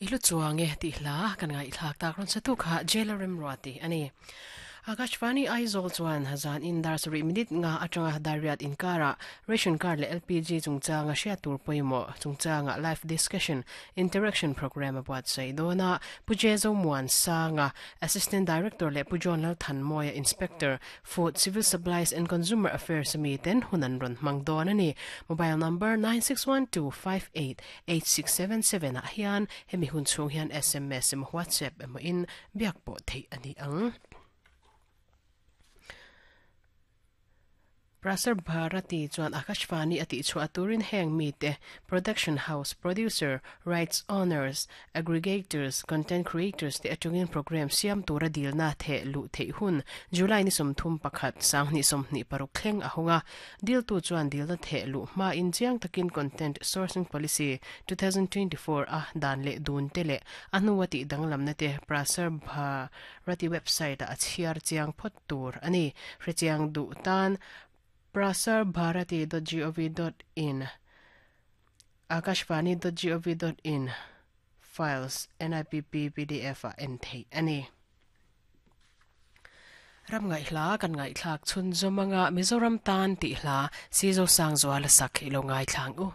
I hlu chuang e tih hla kan ngaihthlak tak rawn satu kha Jailer Remruati a ni. Akashvani Aizawl chuan zan in dar sarih minute nga atanga Dariat inkarah Ration Card leh LPG chungchanga hriat tur pawimawh chungchanga live discussion interaction programme a buatsaih dawn a, Pu Jezo Muansanga, Assistant Director leh Pu John Lalthanmawia, Inspector, Food, Civil Supplies and Consumer Affairs ami ten hun an rawn hmang dawn a ni. Mobile number 9612588677 ah hian hemi hun chhung hian sms emaw WhatsApp emaw in biak pawh theih a ni ang. Prasar Bharati chuan Akashvani a tihchhuah turin heng mite, production house, producer, rights owners, aggregators, content creators te atangin programme siam tura dilna theh luh theih hun July ni 31, 2026 thleng a hawng a. Diltu chuan dilna theh luh hmain chiang takin Content Sourcing Policy, 2024 a dan leh dun te leh a hnua tih danglamna te Prasar Bharati website-ah a chhiar chiang phawt tur a ni. Hrechiang duh tan prasarbharati dot gov dot in, akashvani dot gov dot in, files, NIPP pdf ah en theih a ni. Ram ngaihhla kan ngaihthlak chhunzawm anga Mizoram tan tih hla Sizo Sangzuala sak i lo ngaithla ang u.